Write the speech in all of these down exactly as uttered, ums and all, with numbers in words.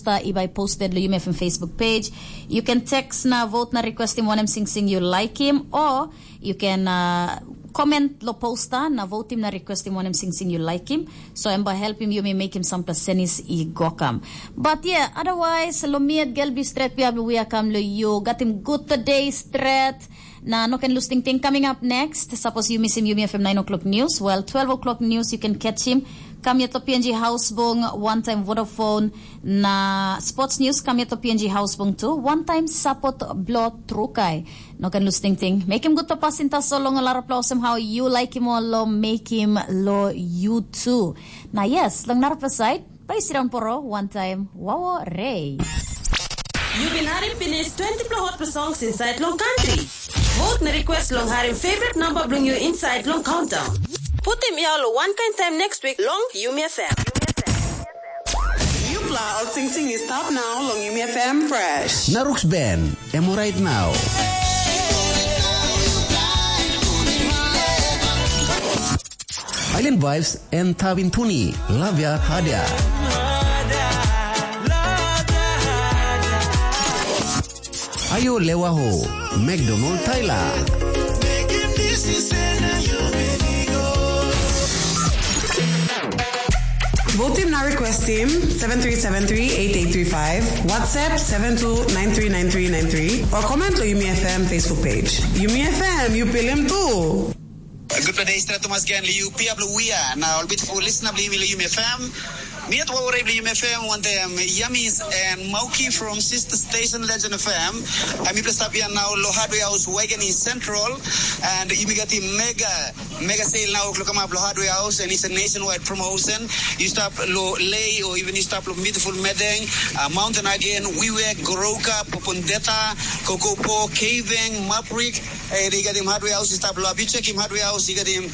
posta i bai posted lo Yumi F M Facebook page. You can text na vote na requestim wanem singsing you like him, or you can uh, comment lo posta na votim na requestim wanem singsing you like him. So em bai helpim yumi mekim sampela senis i gokam. But yeah, otherwise, lo miet gel bi stret pia we are kam lo you. Got him good today stret. Na no ken lus tingting. Coming up next, suppose you miss him, you may have him nine o'clock news. Well, twelve o'clock news, you can catch him. Kam yet lo P N G House Bung, one time Vodafone, na sports news, kam yet lo P N G House Bung too. One time support blo Trukai. No ken lus tingting. Make him good to pass in taso long a lot of places. Somehow you like him or lo make him lo you too. Na yes, long narapla side, bai sidang poro, one time, wawo rei. You've been having finished twenty plus hot songs inside long country. Vote na request long harim favorite number bilong you inside long countdown. Putim yau lo one kind time next week long Yumi F M. Yupla ol ting ting is top now long Yumi F M fresh. Naruk's Ben, emo right now. Island Vibes and Tavin Tuni, Lavia Hadia. Ayo Lewaho, McDonald Tyler. Vote team na request team seven three seven three eight eight three five, WhatsApp seven two nine three nine three nine three, or comment lo Yumi F M Facebook page. Yumi F M, you pilim too. Good day, Stra Thomas Ganley. You piablo we are now. I'll be for listen up Yumi F M. Mi at Wawarei Yumi F M, one day I'm Yamis and Mauki from Sister Station Legend F M. I'm Ibla Sapia now, lo Hardware House, Waikani Central, and you got the mega, mega sale now, come up lo Hardware House, and it's a nationwide promotion. You stop lo Lay, or even you stop lo beautiful Medeng, uh, Mountain again, Wiwek, Goroka, Popondeta, Kokopo, Kaveng, Maprik, Hey, you got him Hardware House, you stop lo up. You check him Hardware House, you got him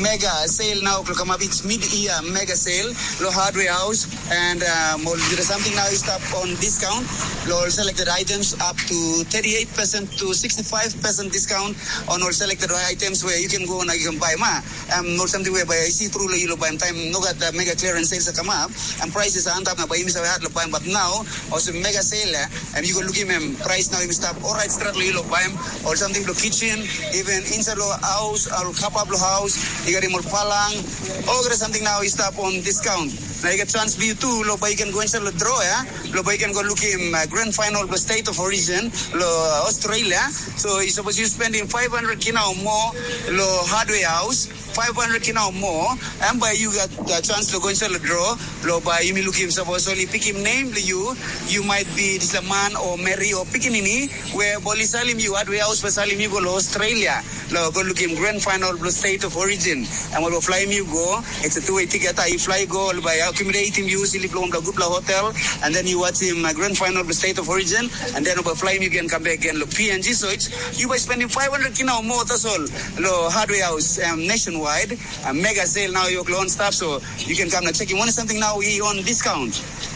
mega sale now, come up. It's mid-year mega sale, lo Hardware House, and um, all the something now is stop on discount. Lo all selected items up to thirty-eight percent to sixty-five percent discount on all selected items where you can go and you can buy ma. Um, not something where by I see through lo you lo buy time no got the mega clearance sales come up and prices are up now by him is hard lo buy, but now also mega sale, eh? And you go look him, him price now, him stop. All right, start lo you lo buy him or something lo kitchen, even inside lo house, or cup up lo house, you got him all palang, all got something now, he stop on discount. Now you get chance be you too, lo buy you can go inside lo draw, yeah? Lo buy you can go look him uh, grand final lo state of origin, lo uh, Australia. So you suppose you spending five hundred kina or more lo hardware house, five hundred kina or more, and by you got the chance to go inside the draw, lo by you me look him suppose only pick him name to you, you might be this a man or Mary or pickaninny, where Boli Salim you at we house for Salim you go to Australia, lo go look him grand final lo state of origin, and we'll fly him you go, it's a two-way ticket, you fly go, by accumulate him you, sleep long the good hotel, and then you watch him uh, grand final lo state of origin, and then we'll fly him you again, come back again, lo P N G, so it's you by spending five hundred kina or more, that's all. Lo Hardware House um, nationwide, a mega sale now you on staff, so you can come and check him. One something now he on discount.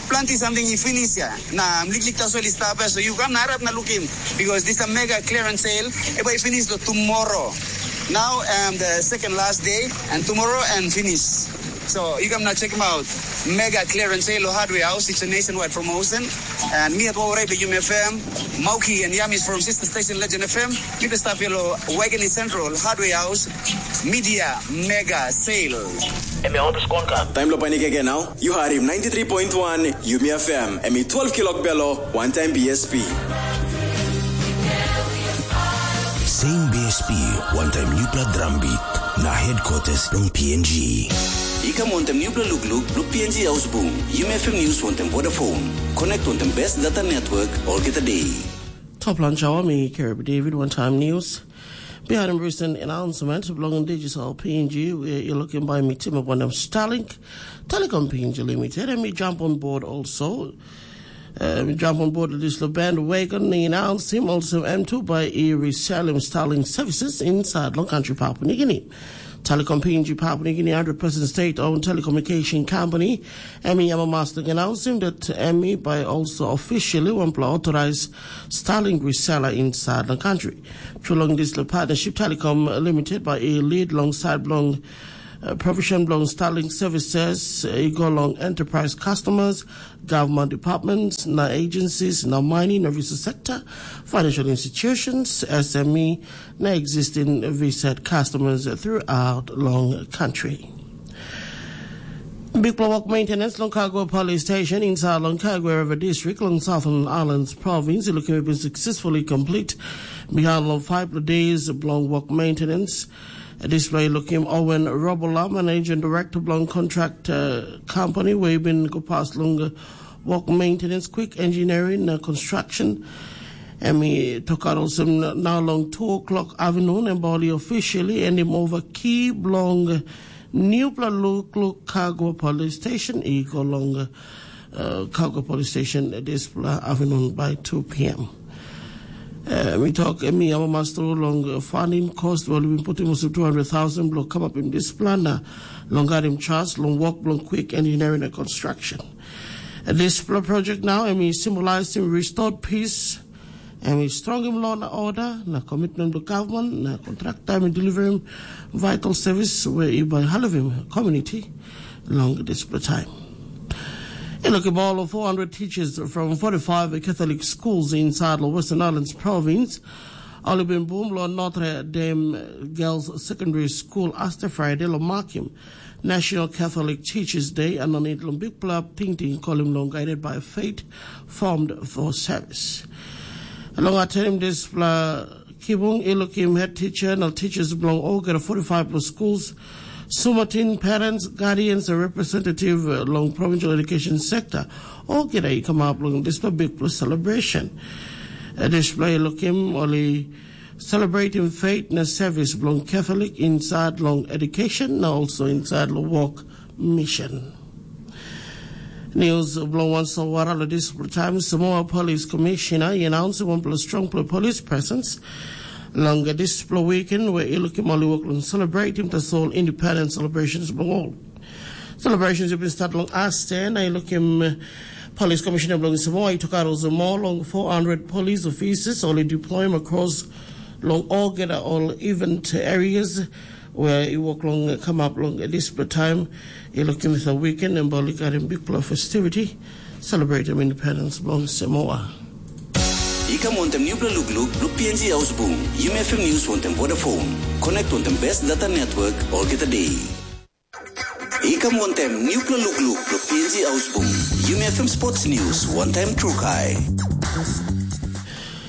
Plenty something he finish here. Na mliklik tasol he stop here, so you come na harap na look him because this a mega clearance sale. If I finish the tomorrow. Now um, the second last day and tomorrow and finish. So you come now check him out. Mega clearance sale lo Hardware House. It's a nationwide promotion. And me at Wawarai Yum F M, Mauki and Yamis from Sister Station Legend F M. Kita stap yellow Waikini Central Hardware House Media Mega Sale. Em ya oto skon ka. Time lo panik again now. You had him ninety-three point one Yumi F M. Em i twelve kilok belo, one time B S P. Same B S P, one time newpela drum beat. Na headquarters long P N G. I kam wantem nupela lukluk blo P N G Ausbung, Yumi F M News wantem Vodafone. Connect wantem best data network olgeta day. Top lunch hour, me Kerub David, one time news. Behind him recent announcement belonging digital P N G, where you're looking by me, Tim, one of Starlink, Telecom P N G Limited, and me jump on board also. Um, jump on board this bandwagon, he announced him also M two by e reselling Starlink services inside long country Papua New Guinea. Telecom P N G Papua New Guinea hundred percent state-owned telecommunication company, Emmy Yamamaslik, announced him that Emmy by also officially one authorized Starlink reseller inside the country. Through long this partnership, Telecom Limited by a lead alongside long Uh, provision bilong Starlink services uh, i go long enterprise customers, government departments, na agencies, na mining na resource sector, financial institutions, S M E, na existing VSAT customers throughout long country. Bikpela wok maintenance long Kagua Police Station inside long Kagua River District long Southern Islands Province i lukim i bin successfully complete. Behind long five days bilong wok maintenance, display lukim Owen Robola, managing director bilong contract uh, company, where i bin go past long uh, wok maintenance, quick engineering na construction. Em i tokat olsem na long two o'clock afternoon em bai ol i officially endim ova ki bilong nupela lukluk Kagua Police Station i go long uh, Kagua Police Station dispela afternoon by two p.m. Uh, mi tok em i amamas tru long uh, funding cost ol bin putim olsem two hundred thousand bilong kamapim dispela na long garim charge long wok bilong quick engineering and construction. Uh, dispela project now em i symbolizing restored peace, em i strongim law na order na commitment bilong government na contractor em i delivering vital service where i by halivim community long dispela time. I lukim all of four hundred teachers from forty-five Catholic schools inside the Western Islands province, ol i bin bum long Notre Dame Girls Secondary School Aster Friday long makim National Catholic Teachers Day, and on it long bikpela tingting kolim long guided by faith, formed for service. Long atenim dispela kibung i lukim head teacher na teachers bilong olgeta forty-five plus schools, sumatin parents, guardians and representative uh, long provincial education sector, olgeta i kamap long dispela bikpela celebration. Uh, dispela i lukim ol i celebrating faith na service bilong Catholic inside long education na also inside long work mission. News bilong wan solwara lo dispela taim Samoa Police Commissioner i announce wanpela strongpela police presence long dispela weekend where i lukim ol i work long celebrating tasol independence celebrations bilong all. Celebrations have been start long Aste na i lukim uh, Police Commissioner bilong Samoa i took out also more long four hundred police officers ol i deploy across long all get all event areas where i work long come up long dispela time. I lukim sa weekend em boli karim bikpela festivity celebrating independence bilong Samoa. I kam wantem nupela lukluk bilong P N G Ausbung, Yumi F M News wantem Vodafone. Connect wantem best data network olgeta day. I kam wantem nupela lukluk bilong P N G Ausbung, Yumi F M Sports News, one time Trukai.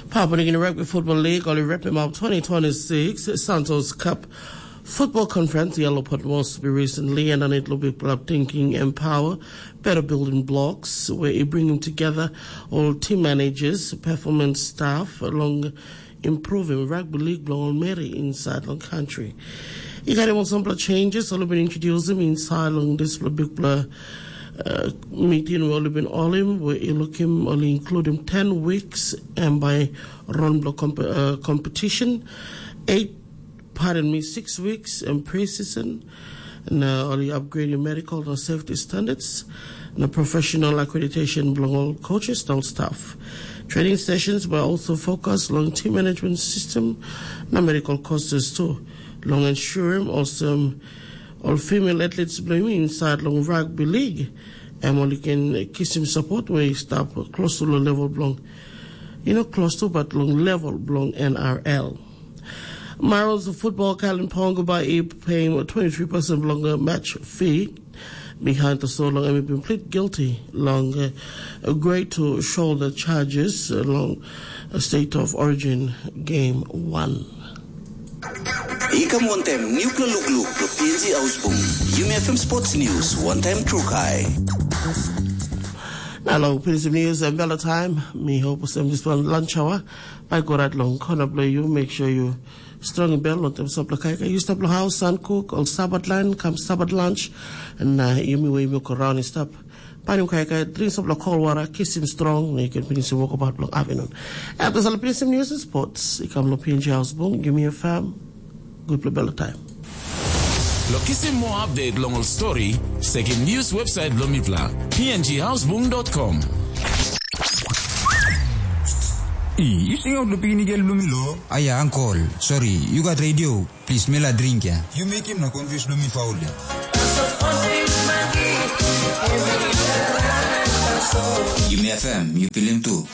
Papua New Guinea Rugby Football League ol i wrap him up twenty twenty-six Santos Cup Football Conference yellow pot was to be recently and on it will be club thinking empower better building blocks where it bringing together all team managers, performance staff along improving rugby league bilong ol meri inside long country. I got him on some changes all been introduced him inside long this big uh, meeting we all been all him where you look him only include him ten weeks and by run block comp- uh, competition, eight pardon me, six weeks in pre-season. Na ol i upgrade your medical na safety standards na professional accreditation bilong all coaches na staff. Training sessions were also focused long team management system na medical courses too. Long ensuring also all female athletes bilong inside long rugby league. Em only can kisim support where you stop close to the level belong. You know, close to but long level belong N R L. Marl's football Kalimpong by paying twenty-three percent longer match fee behind the so long and been plead guilty long uh, agree to shoulder charges along a state of origin game one. Ikam wantem nupla lukluk lo P N G Ausbung. Yumi F M Sports News, one time Trukai. Na long P N G News and Bella Time, mi hope sem this one lunch hour. Bai go right long corner blow you, make sure you strong in bell, not them stop like I used to blow house and cook, all Sabbath line, come Sabbath lunch, and uh, you me way milk around and stop. Panim kai kai, drink some cold water, kiss him strong, na you can finish your walk about long afternoon. After some piece of news and sports, you come to P N G House Boom, give me a fam, good play bell time. Lo kisim mo update long ol story, sekim news website lo mipla, P N G houseboom dot com. I, you sing out lo pini gel lo mi lo? Aya, uncle, sorry, you got radio. Plis mi la dring ya. Yu mekim na confuse bilong mi faul ya. Yumi F M, yu pilim tu.